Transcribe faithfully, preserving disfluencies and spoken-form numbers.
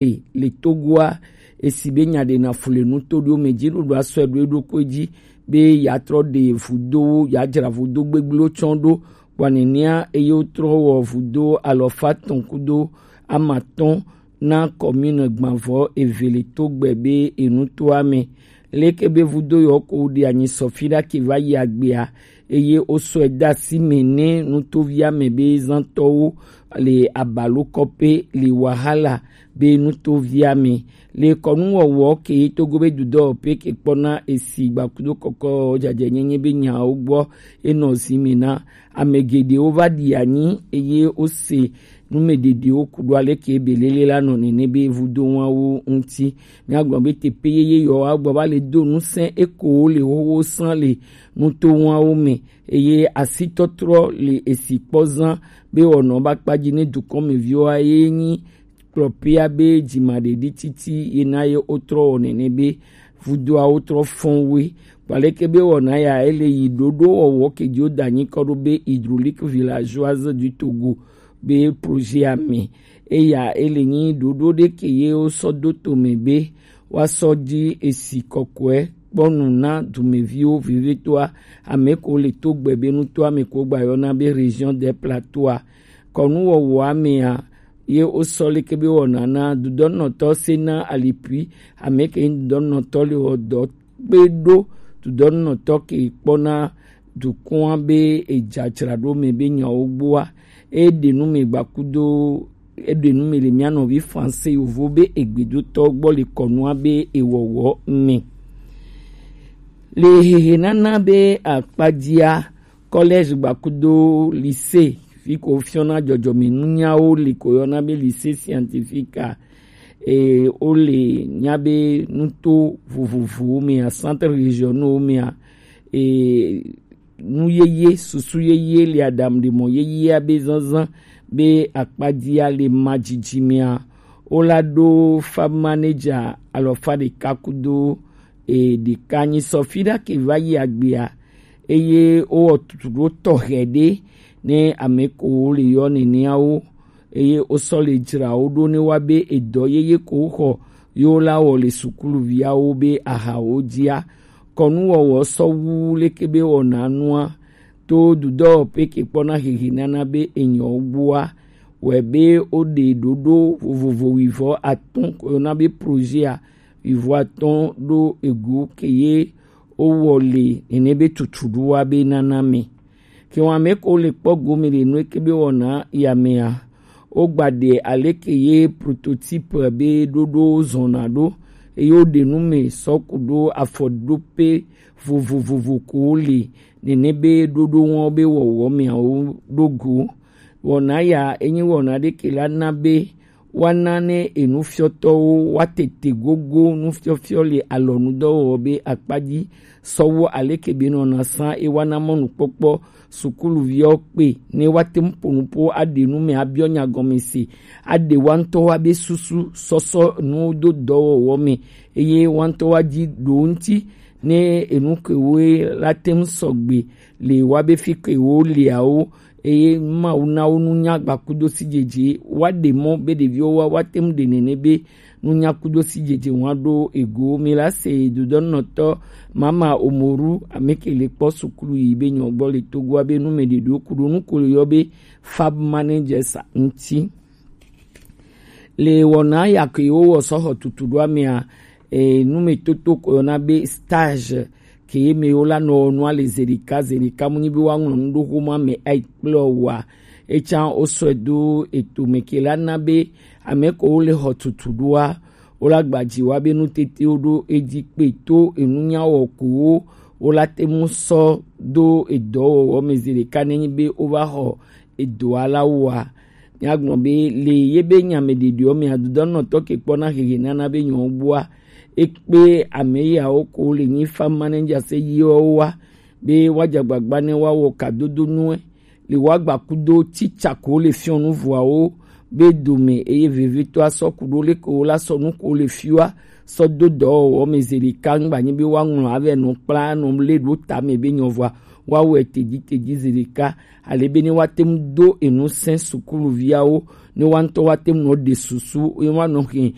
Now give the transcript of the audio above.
le Togoa, esi be nya ɖe na fu le nuto ɖo me ji ɖoɖo asɔ ɖo eɖokui ji be ya trɔ ɖe vudo, ya dzra vudo gbegblẽwo tsɔ ɖo. Kpɔ nenea eye wotrɔ wɔ vudo alɔfa tɔn kudo amatɔn na kɔmine gbanvɔ eve le to gbe be enutoa me. Leke be vudo yɔ ko ɖe anyi sɔfi ɖa ke va yi agbea, eye wosɔe de asi me ne nutovia me be zãtɔwo le abalokɔpe le wahala be nutovia me. Le kɔnuwɔwɔ ke Togo be dudɔ pe ke kpɔna esi gbakudo kɔkɔ jajɛ nyenye be nyawo gbɔ enɔ zi me na ame geɖewo va ɖi anyi eye wose numeɖeɖewo ku ɖo aleke be lele la nɔ nene be vudo wawo ŋuti. Míagblɔ be teƒe yeye yɔ agbɔ va le do ŋusẽ eko le xoxo sã le nuto wawo me eye asitɔtrɔ le esi kpɔ zã be wɔnɔ ba kpadzi ne dukɔmeviwoa ye nyi kplɔpea be dzimaɖeɖi titi ye na ye wotrɔ wɔ nene be vudoawo trɔ fɔn woe. Kpaleke be wɔna ya ele yi ɖoɖo wɔwɔ ke dzi woda anyi kɔ ɖo be hydraulique villageoise du Togo be projet ame. Eya ele nyi ɖoɖo ɖe ke ye wosɔ do tome be woasɔ dzi esi kɔkɔe kpɔnu na dumeviwo vevitɔa ame ko le to gbe be nutoa me ko gba yɔna be région des plateaux. Kɔnuwɔwɔa mea ye wosɔ leke be wɔna na dudɔnɔtɔ se na alipui ame ke dudɔnɔtɔ le wɔ dɔ kpe ɖo dudɔnɔtɔ ke kpɔna dukɔa be edzadzraɖo me be nyawo gbɔa. Eɖe nu me gbakudo eɖe nu me le mía nɔvi français yovo be egbedotɔ gbɔ le kɔnua be ewɔwɔ me. Le hehe nana be akpadzia, collège gbakudo lycée fi ko fiɔna dzɔdzɔme nunyawo li ko yɔna be lycée scientifique a, e, wole nya be nuto vovovowo mea, centre régionaux mea, e, nu yeye, susu yeye le adam ɖe mɔ yeyea be zazã be akpadzia le ma dzidzi mea, wola ɖo farm manager alɔfa ɖeka kudo e, ɖeka nyi sɔfi ɖa ke va yi agbea, eye wowɔ tutuɖo tɔxɛ ɖe ne ame ko le yɔ neneawo, eye wosɔ le dzra wo ɖo ne wa be edɔ yeye ko xɔ yewo la wɔ le sukuluviawo be ahawo dzia. Kɔnuwɔwɔ sɔ wu leke be wɔna nua to dudɔwɔƒe ke kpɔna hehe nana be enyɔ gbua wɔ be woɖe ɖoɖo vovovo wivɔ atɔ̃ ko yɔna be projet a wivɔ atɔ̃ ɖo egu ke ye wowɔ le nene be tutuɖoa be nana me. Ke wɔn ame ko le kpɔ gome le nu ke be wɔna ya mea, wogba ɖe aleke ye prototype be ɖoɖo zɔna ɖo, eye woɖe nu me sɔ ku ɖo afɔɖoƒe vovovovo ko le nene be ɖoɖo wɔn be wɔwɔ meawo ɖo go. Wɔna ya enyi wɔna ɖe ke la na be woana ne enufiɔtɔwo woatete gogo nufiɔfiɔ le alɔnudɔwɔwɔ be akpa dzi sɔ wu aleke be nɔna sã e woana mɔnukpɔkpɔ sukuluviwo kpe ne woate ŋu ƒo nu ƒo aɖe nu me abiɔ nya gɔme se, aɖe woa ŋutɔwo abe susu sɔsɔ nuwo do dɔwɔwɔ me eye woa ŋutɔwo adzi ɖo ŋuti ne enu kewoe la te ŋu sɔgbe le woabe fi kewo leawo eye Mawu na wo nunya gbakudo sidzedze woaɖe mɔ be ɖeviwo wa woate ŋu ɖe nene be nunya kudo sidzedze wa ɖo ego. Mi la se dodɔnɔtɔ Mama Omoru ame ke le kpɔ sukulu yi be nyɔ gbɔ le Togoa be nu me ɖeɖewo ku ɖo nu ko le yɔ be fab managers ŋuti. Le wɔna ya ke wowɔ sɔ xɔ tutu ɖo amea, e, numetoto ko yɔna be stage ke ye me wo la nɔ nua le zeɖeka zeɖeka mu nyi be woaŋlɔ nu ɖo xoma me ai kple wa. Etsa wosɔe do eto me ke la na be ame ko wo le xɔ tutu ɖoa, wo la gba dzi wa be nutetewo ɖo edzi kpe to enunya wɔ ko wo, wo la te mu sɔ do edɔwɔwɔ me zeɖeka ne nyi be wo va xɔ edoa la woa. Míagblɔ be le ye be nya me ɖeɖeɔ me adudɔnɔtɔ ke kpɔna hehe nana be nyɔwo gbɔa, ekpe ame yawo ko le nyi fa managers yiwo wa be woadze agbagba ne woawɔ kadodo nue le woagba kudo tsitsa ko le fiɔ nu vuawo be dome eye vevitɔ asɔ ku ɖo le ko la sɔ nu ko le fiwa sɔ do dɔwɔwɔ me zeɖeka ŋgba nyi be woaŋlɔ avɛ nɔ kpla nɔ le ɖo tame be nyɔ vɔa wa wɛ teji teji zedeka, ale be ne wa te ŋu do enu sɛn sukuluviawo, ne wa ŋutɔ wa te ŋu nɔ ɖe susu, ne wa nɔ xe